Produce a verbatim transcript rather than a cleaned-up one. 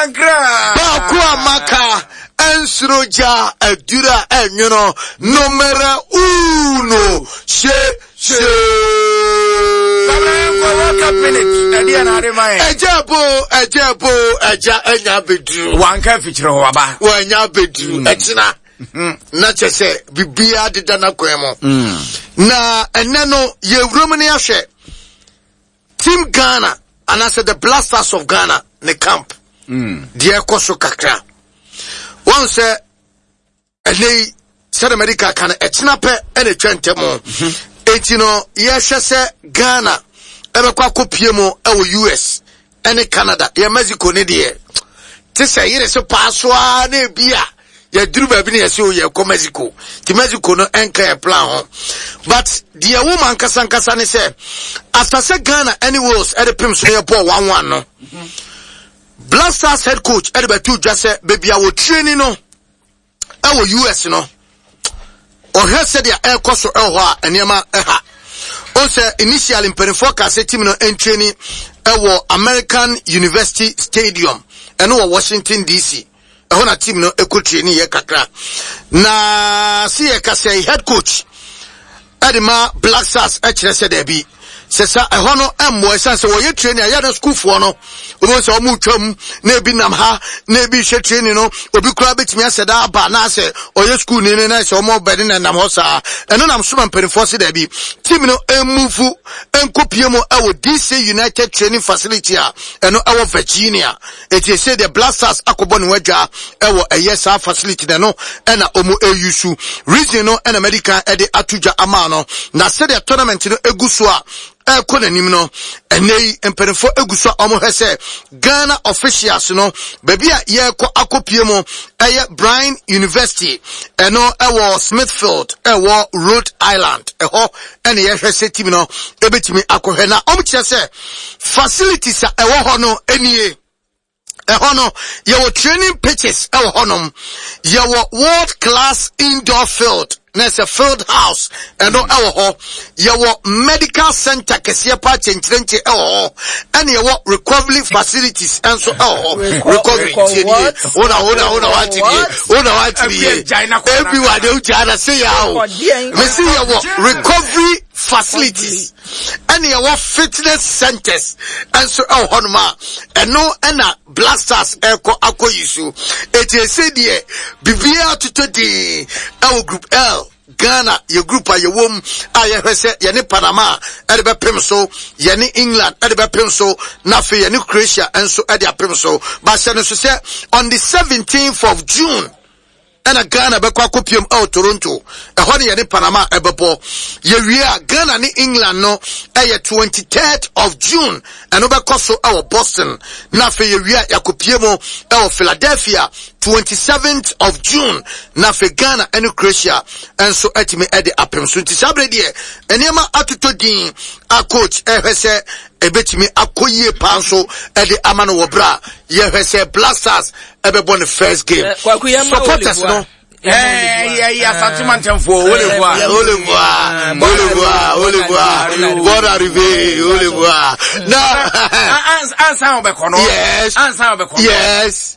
Kankra. Baako a maka ɛnsoro gya aduru a ɛnwono numero uno hye hye. World Cup minute. Ɛdeɛ na ade ma yɛn. Ɛgya bo, ɛgya bo, ɛgya ɛnya abɛduru. Wanka afikyerɛ hɔ aba. Wanya abɛduru ɛkyina na kyɛ sɛ biribiara deda n'akwan mu. Na ɛnɛ no yɛwura mu ne ahwɛ Team Ghana anaasɛ the Black Stars of Ghana ne camp deɛ ɛkɔ so kakra. Wɔn sɛ ɛnɛ yi, sɛdeɛ medical ka no, ɛkyena pɛ ɛna ɛtwa ntɛm. Enti no yɛhwɛ sɛ Ghana ɛbɛkɔ akɔpie mu ɛwɔ U S ɛne Canada. Yɛ Mexico ne deɛ te sɛ yere so paa so ara na ebi a yɛduru baabi ne yɛsɛ o yɛkɔ Mexico, nti Mexico no ɛnka yɛ plan ho. But deɛ wo ma nkasa nkasa ne sɛ after sɛ Ghana ɛne Wales ɛde pem so yɛ bɔɔ one one no, Black Stars head coach ɛde bɛto dwa sɛ baabi a wɔ training no ɛwɔ U S no, ɔhwɛ sɛdeɛ ɛrekɔ so ɛwɔ hɔ a, nneɛma ɛha o. Sɛ initially mpanimfoɔ ka sɛ team no ntraining ɛwɔ American University Stadium, ɛno wɔ Washington D C, ɛhɔ na team no ɛkɔ training yɛ kakra. Na si yɛ ka sɛ head coach ɛde ma Black Stars ɛkyerɛ sɛ daabi, sɛ sa ɛhɔ no ɛmmoa, ɛsiane sɛ wɔyɛ training a yɛde sukuufoɔ no obi sɛ ɔmo twam na ebi nam ha na ebi hwɛ training no, obi koraa bɛtumi asɛ da aba na asɛ ɔyɛ sukuu ni no na sɛ ɔmo bɛde na nam hɔ saa. Ɛno nam soma mpanimfoɔ se daabi, team no emove nkɔpie mu ɛwɔ D C United Training Facility a ɛno ɛwɔ Virginia. Eti ese deɛ Black Stars akɔbɔ ne ho adwa ɛwɔ ɛyɛ saa facility na ɛno ɛna ɔmo eyusu. Reason no ɛna medical ɛde ato dwa ama no. Na sɛdeɛ tournament no egu so a ɛkɔ n'anim no, ɛnɛ yi mpanimfoɔ egu so a wɔhwɛ sɛ Ghana officials no baabi a yɛrekɔ akɔpie mu ɛyɛ Bryant University, ɛno ɛwɔ Smithfield, ɛwɔ Rhode Island. Ɛhɔ ɛna yɛhwɛ sɛ team no ebɛtumi akɔhwɛ. Na wɔn kyerɛ sɛ facilities a ɛwɔ hɔ no nie. Ɛhɔ no yɛwɔ training pitches ɛwɔ hɔnom, yɛwɔ world class indoor field na ɛsɛ field house, ɛno ɛwɔ hɔ. Yɛwɔ medical center kɛseɛ pa kyɛnkyerɛnkyɛn ɛwɔ hɔ, ɛna yɛwɔ recovery facilities ɛnso ɛwɔ hɔ. Recovery tie nie, wona wona wona wate nie, wona wate nie, ebi wa de wogya na se ya o mesi yɛwɔ recovery facilities ɛna yɛwɔ fitness centers ɛnso ɛwɔ hɔnom a ɛno ɛna Black Stars ɛkɔ akɔ yi so. Eti ese deɛ biribiara totɔ dii ɛwɔ Group L. Ghana yɛ group a yɛwɔ mu a yɛhwɛ sɛ yɛne Panama ɛde bɛpem so, yɛne England ɛde bɛpem so, na afei yɛne Croatia nso ɛde apem so. Bahyɛ no so sɛ on the seventeenth of June ɛna Ghana bɛkɔ akɔpiem ɛwɔ Toronto. Ɛhɔ ne yɛne Panama ɛbɛbɔ. Yɛwie a, Ghana ne England no ɛyɛ twenty-third of June, ɛno bɛkɔ so ɛwɔ Boston. Na afei yɛwie a, yɛakɔpie mu ɛwɔ Philadelphia twenty-seventh of June. Na afei Ghana ɛne Croatia ɛnso ɛtumi ɛde apem so. Nti saa bere deɛ nneɛma atotɔ din a coach ɛhwɛ sɛ ɛbɛtumi akɔ yie paa nso ɛde ama no wɔ berɛ a yɛhwɛ sɛ Black Stars ɛbɛbɔ ne first game. Supporters no ɛyɛ Asante mantamfoɔ olevoa, olevoa, olevoa, olevoa, bonne arrivée, olevoa na ansa wobɛkɔ no yes ansa wobɛkɔ no yes.